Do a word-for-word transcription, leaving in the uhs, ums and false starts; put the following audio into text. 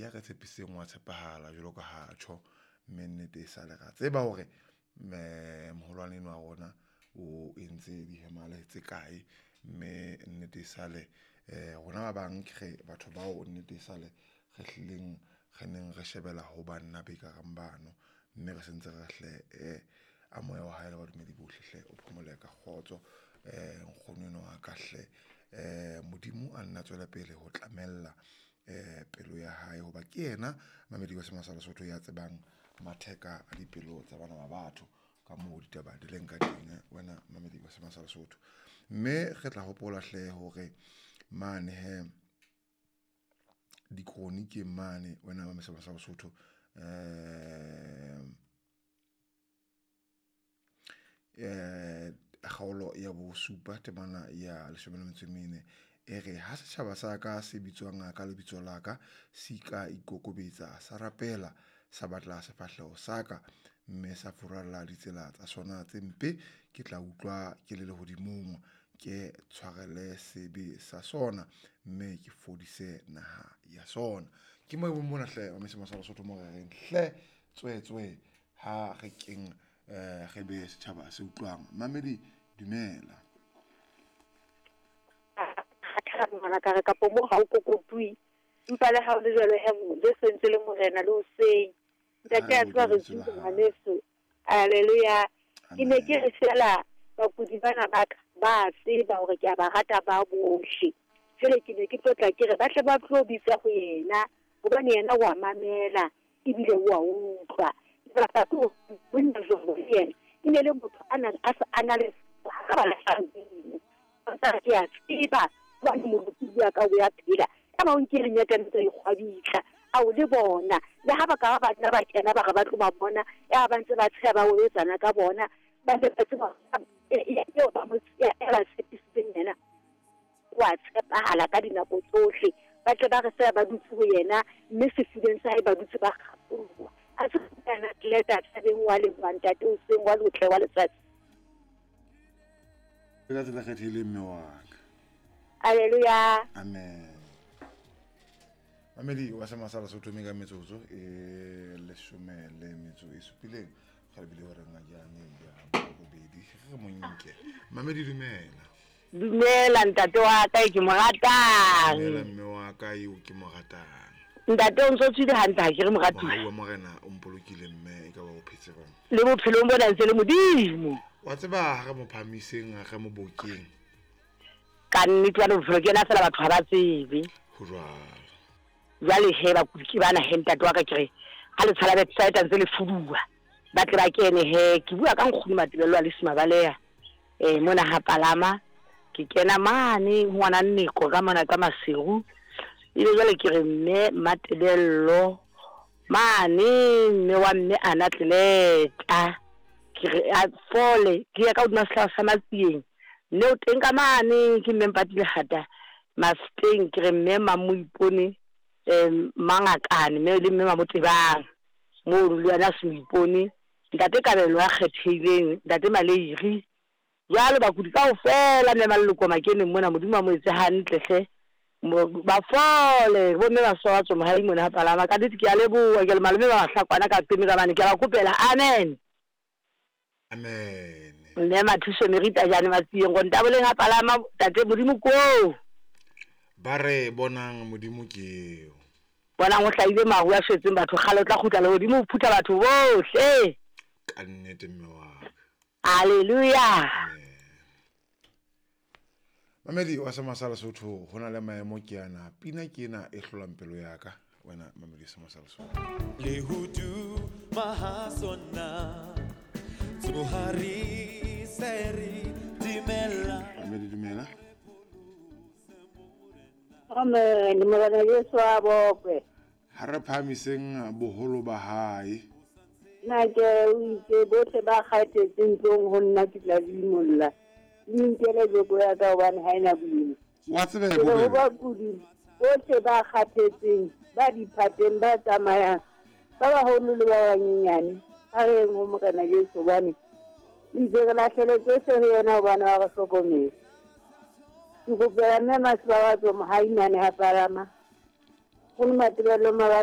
Ya re tshepisitseng wa tshepahala jwalo ka ha tjho, mme nnete e sale ra tseba hore moholwane enwa wa rona o entse dihemale tse kae, mme nnete e sale rona ba bang re batho bao nnete e sale re hlileng re neng re shebella ho banna be kareng bano, mme re sentse re hle a moya wa hae le badumedi bohle hle o phomole ka kgotso. Nkgono enwa wa ka hle Modimo a nna tswele pele ho tlamella pelo ya hae, hoba ke yena mamedi wa sa Lesotho ya tsebang matheka a dipelo tsa bana ba batho ka moo ditaba di leng ka teng. Wena mamedi wa sa Lesotho, mme re tla hopola hle hore mane he di-chronic mane wena wa sa Lesotho um kgaolo ya bosupa temana ya leshome le metso e mene e re ha setjhaba sa ka se bitswang ka lebitso la ka se ka ikokobetsa sa rapela sa batla sefahleho sa ka, mme sa furalla ditsela tsa sona tse mpe, ke tla utlwa ke le lehodimong, ke tshwarele sebe sa sona, mme ke fodise naha ya sona. Ke mo mona hle wa mesemo sa Lesotho mo re reng hle tswetswe ha re keng re be setjhaba se utlwang. Mamedi dumela. Ngwana ka re kapo mo ha o kokotui empa le ha o le jwalo he Jesu ntse le morena le hoseng ntate a tswa re tswa ngwaneso. Haleluya. Ke ne ke re fela bakudi bana ba ka ba tseba hore ke a ba rata ba bohle. Jwale ke ne ke tlotla ke re ba tle ba tlo bitsa ho yena hobane yena wa mamela ebile wa utlwa. Lebaka ke monna jwalo yena e ne le motho a nang a sa ana le ka ba la sa ke a tseba ba mo bua ka o ya phela ka ba o nkile nyaka ntse e kgwabitla a o le bona le ha ba ka ba nna ba kena ba re ba tlo ba bona ya ba ntse ba tsheha ba wetsana ka bona ba le ba tseba eo ba mo ya ba tshepisitseng yena wa tshepahala ka dinako tsohle ba tle ba re se ba dutse ho yena mme sefubeng sa hae ba dutse ba kgapolwa a se kana tleta tsebeng wa le ntate o seng wa lotle wa letsatsi ka tsela kgethile mme wa ka. Haleluya. Amen. Mamedi wa sa Lesotho me ka metsotso e leshome le metso e supileng ga le bile hore ngajane ya bobedi re monke. Mamedi dumela. Dumela ntate wa ka ke mo ratang. Dumela mme wa ka eo ke mo ratang. Ntate o ntse tswile hantle ha ke re moratuwa. Wa morena o mpolokile mme e ka ba o phetse bang. Le bophelong bona ntse le modimo. Wa tseba ha re mo phamiseng ha re mo bokeng. Ka nnete wa bophelo ke yena fela batho ha ba tsebe. Ho jwalo. Jwale he bakudi ke bana he ntate wa ka ke re ha le tshala website ntse le fuduwa ba tle ba kene he ke bua ka nkgono Matebello a le Simabaleha eh mona ha palama ke kena mane ngwana Nneko ka mona ka Maseru ile jwale ke re mme Matebello mane mme wa mme ana tleleta ke re a fole ke ya ka hodima sehlahla sa Matsieng mme o teng ka mane ke mme Mpatile hata Mafeteng ke re mme Mamoipone um mangakane mme le mme Mamotebang mo le yena se moipone ntate Kabelo ya kgethehileng ntate Maleiri jwalo bakudi kaofela mme maloko makeneng mona Modimo a mo etse hantle hle ba fole bo mme ba swatso mohai mona ha palama ka nnete ke a leboha ke le malome ba bahlakwana ka peme ka bane ke a ba kopela amen. Amen. Mme Mathuso Merita jane Matsieng go ntaboleng ha palama tate Modimo ko ba re bonang Modimo ke eo bonang o hlahile maru a shwetseng batho kgale o tla kgutla le hodimo o phutha batho bohle ka nnete mme wa ka. Haleluya. Mamedi wa sa Lesotho ho na le maemo ke ana pina ke ena e hlolang pelo ya ka wena mamedi sa Lesotho le hudu mahasona tsohari seri dimela. Mamedi dumela. Amen. Morena Jesu a bokwe. Ha re phahamiseng boholo ba hae. Nna ke o itse bohle ba kgathetseng tlong ho nna ke tla dimolla. Le nkele joko ya ka hobane ha ena boima. Wa tseba he bo bakudi bohle ba kgathetseng ba diphateng ba tsamayang ba baholo le ba banyenyane a re ho Morena Jesu hobane itse re lahlele tsohle ho yena hobane wa re hlokometse. Ke kopela mme Masibabatso Mohaimane ha palama. Go le Matebello Mabale